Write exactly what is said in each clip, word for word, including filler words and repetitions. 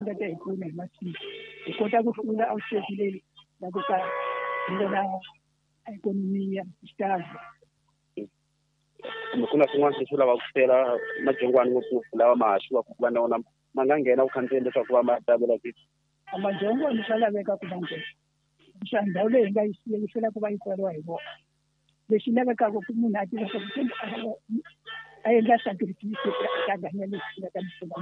Nga ta hi pfuna hi masiku hi kota ku hlula outstate leyi la ku ka hi vona ikhonomi ya xitalo. Kumbe ku na swin'wana leswi lavaka ku sela madyongwani ngopfungopfu lawa ma haxiwaka ku va na wona ma nga nghena ku khandziyeni leswaku va ma tabela ke? Madyongwani swa laveka ku va nghena xa ndhawu leyi hi nga yi siya yi hlwela ku va yi tswariwa hi vona. Lexi lavekaka ku munhu a tiva swa ku a endla sacrifice a ta ganya leswi nga ta mi pfuna.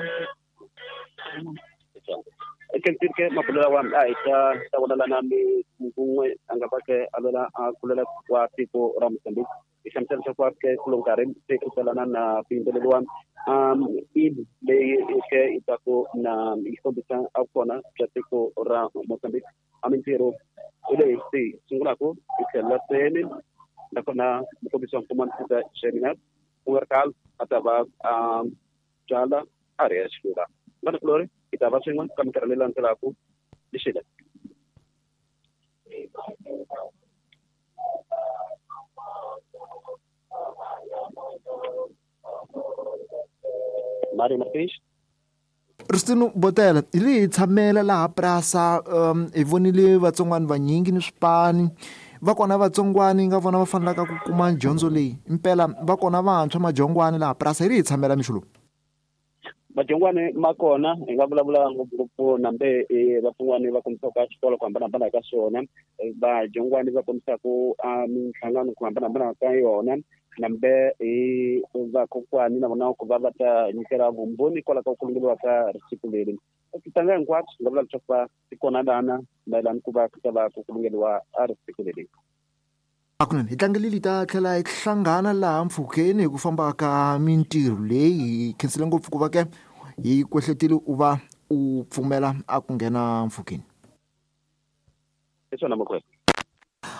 Ke mabulo lawa a hi ta ta vonalana mi kun'we a nga va ke a lwela a kulela wa tiko ra Mozambique hi hlamusela leswaku va ke kulo nkarhi se ku salana na ku yimbeleriwa um id leyi ke yi taku na yi kombisa a kona bya tiko ra Mozambique. A mintirho hi leyi se yi sungulaku hi tlhelo la seni nakona mukombisi wa mfumo ta Gemina ku nga ri khale a ta va a byala a ri ya xilula vana kulori hi ta va swin'we ka minkarhi leyi landzelaka lexile. Mario Martins. Ristino Botela, hi li hi tshamela laha Prasa, um hi vonile vatsongwani vanyingi ni swipani va kona vatsongwani nga vona va fanelaka ku kuma dyondzo leyi impela va kona vantshwa madyongwani laha Prasa hi ri hi tshamela mixo lowu. Madyongwani ma kona hi nga vulavula ngopfungopfu nambe vatsongwani va kombisaka xikolo ku hambanahambana ka swona, vadyongwani va kombisaka minhlangano ku hambanahambana ka yona, nambe hi vakokwani na vona ku va va ta nyikela vumbhoni kwalaho ka ku kulungeliwa ka risiku leri. Titanga hinkwato nga vula leswaku va ti kona lana mayelana ku va ku ta va ku kulungeliwa a risiku leri. Hakunene hi tlangelile ta tlhela hi hlangana laha mpfhukeni hi ku famba ka mintirho leyi hi khensile ngopfu ku va ke hi kwehletile u va u pfumela a ku nghena mpfhukeni. Hi swona makwenu.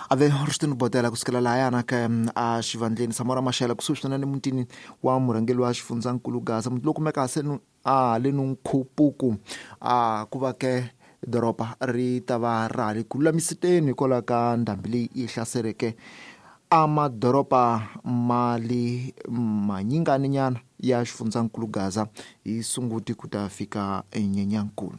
Ave Ristino Botela kusukela lahayana ka a xivandleni Samora Machel kusuhi swinene mutini wa murhangeri wa xifundzankulu Gaza muti lowu kumeka se a haleni Nkhupuku a ku va ke doroba ri ta va ra ha ri ku lulamiseni hikwalaho ka ndhambi leyi yi hlaseleke a madoroba ma le manyinganinyana ya xifundzankulu Gaza hi Sunguti ku ta fika Nyenyankulu.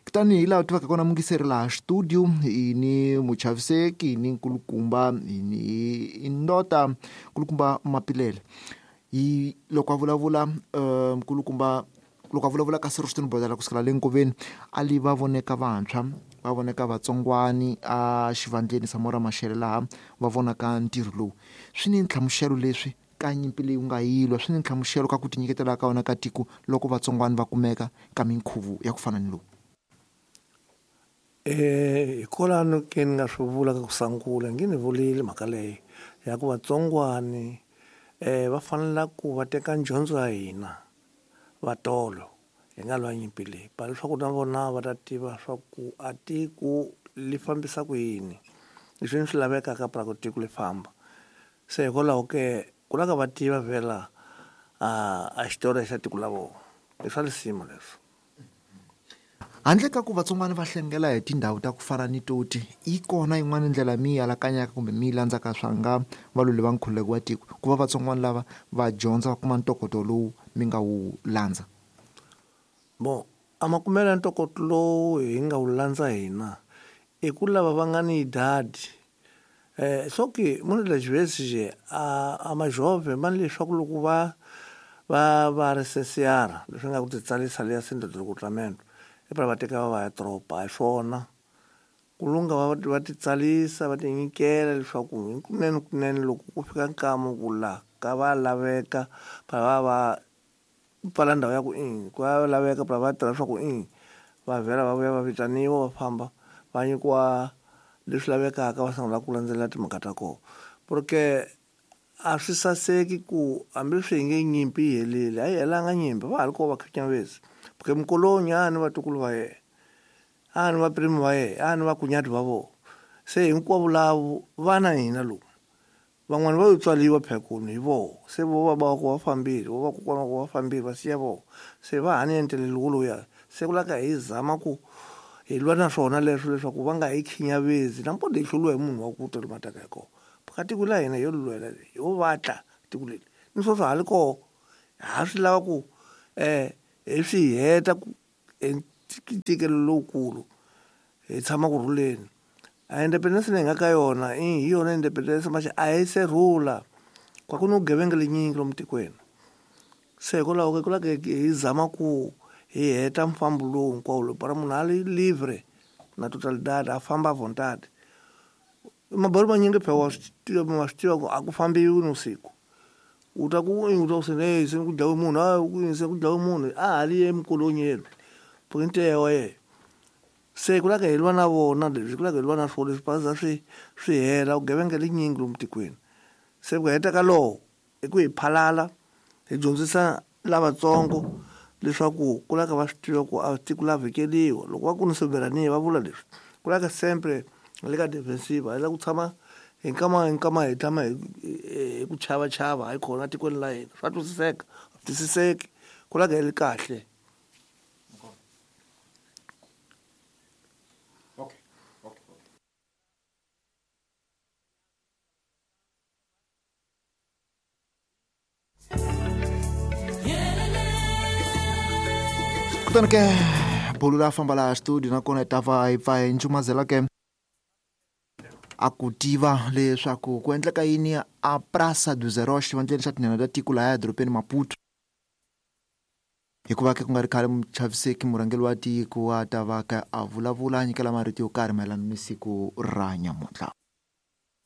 Kutani hi laha tivaka kona mungiseri laha studio hi ni muchaviseki hi ni nkulukumba hi ni ndota nkulukumba Mapilele hi loko a vulavula uh, nkulukumba loko a vulavula ka Ristino Botela kusukela le nkoveni a li va voneka vantshwa va voneka vatsongwani a xivandleni Samora Machel laha va vonaka ntirho lowu swi ni nhlamuselo leswi ka nyimpi leyi u nga yilwa swi ni nhlamuselo ka ku tinyiketela ka wona ka tiko loko vatsongwani va kumeka ka minkhuvo ya ku fana ni lowu. Eh hikwalano ke ni nga swi vula ka ku sungula nge ni vulile mhaka leyi ya ku vatsongwani eh va fanela ku va teka dyondzo ya hina vatolo hi nga lwa nyimpi leyi pa leswaku na vona va ta tiva swa ku a tiko li fambisa ku yini leswi swi lavekaka para ku tiko li famba. Se hikwalaho ke ku lava va tiva vhela a a xitori xa tiko la vona i swa lisima leswo. Handle ka ku vatsongwana va hlengela hi tindhawu ta ku fana ni toti yi kona yin'wana ndlela mi yi alakanyaka kumbe mi yi landzaka swa nga valweli va nkhululeko wa tiko ku va vatsongwana lava va dyondza va kuma ntokoto lowu mi nga wu landza? Bon, a makumelo ya ntokoto lowu hi nga wu landza hina i ku lava va nga ni idadi eh soki munhu lexivesi je a a majove ma leswaku loko va va va ri C C R leswi nga ku ti tsalisa leya Centro de Recrutamento e va teka va va ya tropa hi swona ku lunga va va ti tsalisa va ti nyikela leswaku kunene kunene loko ku fika nkama ku la ka va laveka va va va pfala ndhawu ya ku i ku va laveka va va tirha swa ku i va vhela va vuya va vitaniwa va famba va nyikiwa leswi lavekaka va sungula ku landzelela timhaka ta kona. Porque a swi saseki ku hambileswi hi nge nyimpi yi helile a yi helanga nyimpi va ha ri kona vakhinyavesi porque Mkolonyi a ni vatukulu va yena a ni vaprimi va yena a ni vakunyati va vona se hinkwavo lavo va na hina lomu van'wani va yo tswaliwa phekuni hi voho se vo va va ku va fambile vo va kokwana ku va fambile va siya voho se va ha ni entelelo woloya se ku lava hi zama ku hi lwa na swona leswo leswaku va nga hi khinyavezi na mpode hi hluriwa hi munhu wa ku ta lomu a taka hi kona phaka tiko la hina yo lwela yo vatla tiko leri ni sweswo ha ri koho ha swi lava ku eh hi swi heta ku ntikelo lowukulu hi tshama ku rhuleni a independence leyi nga ka yona i hi yona independence maxe a hi se rhula kwa ku ni vugevenga lenyingi lomu tikweni se hikwalaho ke ku lava hi zama ku hi heta mfambo lowu hinkwawo lowu para munhu a li livre na totalidade a famba a vontade mabolo manyingi phela wa swi tiva ma swi tiva ku a ku fambiwi nivusiku u ta ku u ta ku se hey se ku dlawe munhu a ku se ku dlawe munhu a ha li emikolonyeni pointe ya yena se ku lava hi lwa na vona leswi ku lava hi lwa na swona leswi baza swi swi hela vugevenga lenyingi lomu tikweni se ku heta ka lowo i ku hi phalala hi dyondzisa lavatsongo leswaku ku lava va swi tiva ku a tiko la vhikeliwa loko va ku ni soberania va vula leswi ku lava sempre le ka defensive hi lava ku tshama hi nkama hi nkama hi tshama hi hi ku chava chava hayi khona tikweni la hina swa twisiseka a twisiseki ku lava hi ri kahle. Okay. Okay. Kutani ke bulu la famba laha studio nakona hi ta va hi pfa hi ncumazela ke a ku tiva leswaku ku endleka yini a Praça dos Heróis xivandleni xa tinhenha ta tiko lahaya edorobeni Maputo hikuva ke ku nga ri khale muchaviseki murhangeri wa tiko a ta va ka a vulavula a nyikela marito yo karhi mayelana ni siku ra nyamuntlha.